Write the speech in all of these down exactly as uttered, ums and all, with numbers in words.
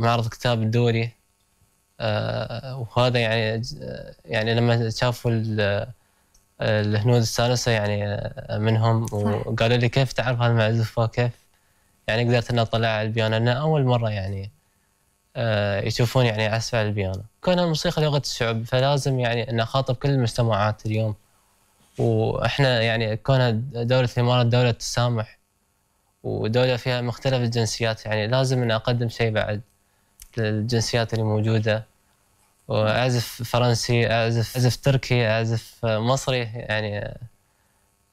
معرض الكتاب الدولي. آآ وهذا يعني يعني لمّا شافوا ال الهنود استانسوا يعني منهم صح. وقالوا لي: "كيف تعرف هالمعزوفة كيف يعني قدرت إني أطلّعها على البيانو؟" لأنها أول مرّة يعني آآ يشوفون يعني عزف على البيانو. كون الموسيقى لغة الشعوب فلازم يعني إني أخاطب كل المجتمعات اليوم، وإحنا يعني كونها دولة الإمارات دولة تسامح ودولة فيها مختلف الجنسيات، يعني لازم إني أقدّم شي بعد للجنسيات اللي موجودة، وأعزف فرنسي، أعزف أعزف تركي، أعزف مصري، يعني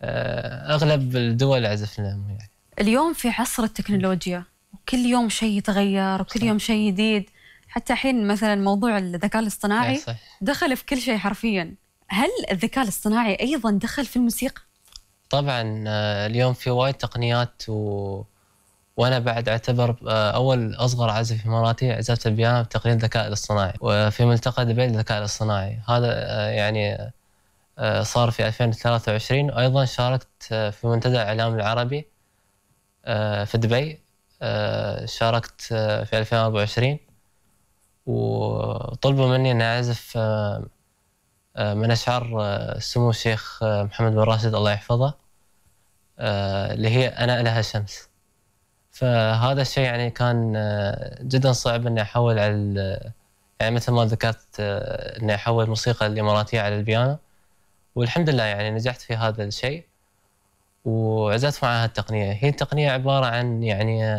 آآ أغلب الدول أعزف لهم يعني. اليوم في عصر التكنولوجيا وكل يوم شيء يتغير وكل صح. يوم شيء جديد، حتى الحين مثلا موضوع الذكاء إيه الاصطناعي صح. دخل في كل شيء حرفيا. هل الذكاء الاصطناعي أيضا دخل في الموسيقى؟ طبعًا اليوم في وايد تقنيات و وأنا بعد أعتبر أول أصغر عازف إماراتي عزفت البيانو بتقنية الذكاء الاصطناعي، وفي ملتقى دبي للذكاء الاصطناعي، هذا يعني صار في ألفين وثلاثة وعشرين، وأيضًا شاركت في منتدى الإعلام العربي في دبي، شاركت في ألفين وأربعة وعشرين وطلبوا مني إني أعزف من أشعار سمو الشيخ محمد بن راشد الله يحفظه، اللي هي أنا إله الشمس. فهذا الشيء يعني كان جدًا صعب إني أحوّل على يعني مثل ما ذكرت إني أحوّل الموسيقى الإماراتية على البيانو، والحمد لله يعني نجحت في هذا الشيء، وعزفت مع هالتقنية. هي التقنية عبارة عن يعني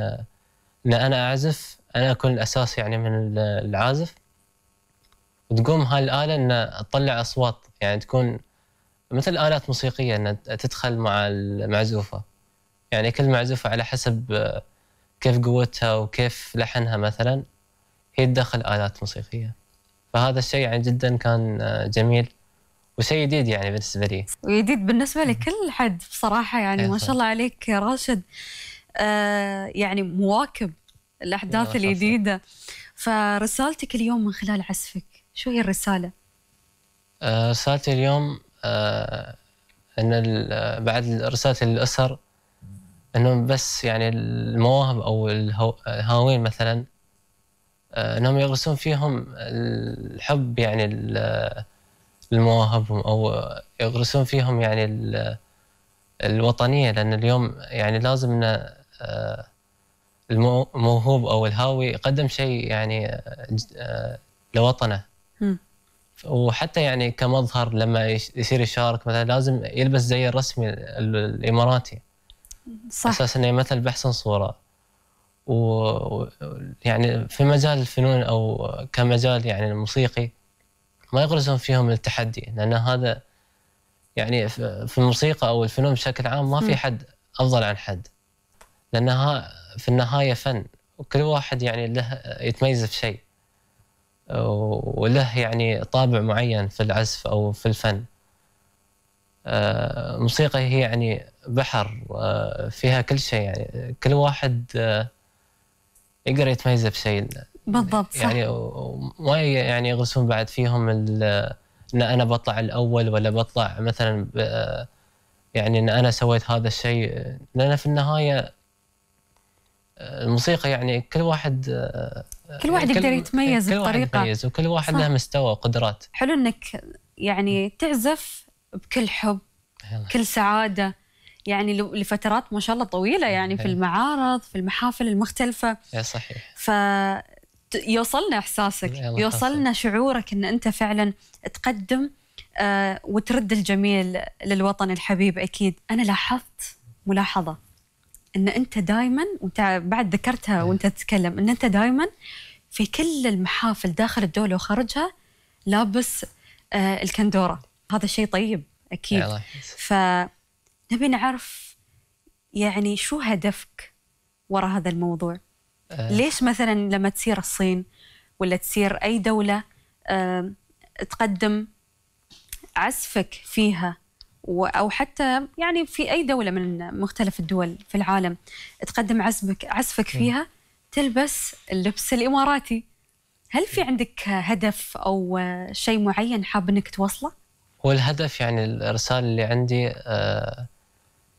إن أنا أعزف، أنا أكون الأساس يعني من العازف، وتقوم هاي الآلة إن تطلّع أصوات، يعني تكون مثل آلات موسيقية إنها تدخل مع المعزوفة، يعني كل معزوفة على حسب كيف قوتها وكيف لحنها مثلًا هي تدخّل آلات موسيقية. فهذا الشيء يعني جدًا كان جميل وشيء جديد يعني بالنسبة لي. وجديد بالنسبة لكل حد بصراحة، يعني ما شاء الله عليك يا راشد. آه يعني مواكب الأحداث الجديدة. فرسالتك اليوم من خلال عزفك شو هي الرسالة؟ آه رسالتي اليوم آه إن بعد رسالتي للأسر إنهم بس يعني المواهب أو الهاوين مثلًا إنهم يغرسون فيهم الحب يعني لمواهبهم، أو يغرسون فيهم يعني الوطنية، لأن اليوم يعني لازم إن الموهوب أو الهاوي يقدم شيء يعني لوطنه. م. وحتى يعني كمظهر لما يصير يشارك مثلا لازم يلبس زي الرسمي الإماراتي، صح. أساس إنه يمثل بأحسن صورة. ويعني في مجال الفنون أو كمجال يعني الموسيقي ما يغرسون فيهم التحدي، لأن هذا يعني في الموسيقى أو الفنون بشكل عام ما في حد أفضل عن حد، لأنها في النهاية فن، وكل واحد يعني له يتميز في شيء وله يعني طابع معين في العزف أو في الفن. الموسيقى هي يعني بحر فيها كل شيء، يعني كل واحد يقدر يتميز بشيء بالضبط. صح. يعني ما يعني يغرسون بعد فيهم ان انا بطلع الاول ولا بطلع مثلا يعني ان انا سويت هذا الشيء، لان في النهايه الموسيقى يعني كل واحد كل واحد يقدر يتميز كل بطريقه، واحد يتميز وكل واحد صح. له مستوى وقدرات. حلو انك يعني تعزف بكل حب كل سعاده، يعني لفترات ما شاء الله طويله، يعني في المعارض في المحافل المختلفه. يا صحيح. ف يوصلنا احساسك، يوصلنا شعورك ان انت فعلا تقدم آه وترد الجميل للوطن الحبيب. اكيد انا لاحظت ملاحظه ان انت دائما، وانت بعد ذكرتها وانت تتكلم، ان انت دائما في كل المحافل داخل الدوله وخارجها لابس آه الكندوره. هذا شيء طيب اكيد. فنبي نعرف يعني شو هدفك وراء هذا الموضوع؟ أه ليش مثلا لما تسير الصين ولا تسير أي دولة أه تقدم عزفك فيها، أو حتى يعني في أي دولة من مختلف الدول في العالم تقدم عزفك عزفك فيها تلبس اللبس الإماراتي؟ هل في عندك هدف أو شيء معين حاب أنك توصله؟ هو الهدف يعني الرسالة اللي عندي أه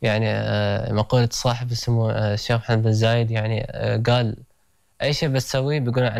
يعني أه مقولة صاحب اسمه الشيخ محمد بن زايد، يعني أه قال أي شيء بتسويه بيقولون عنك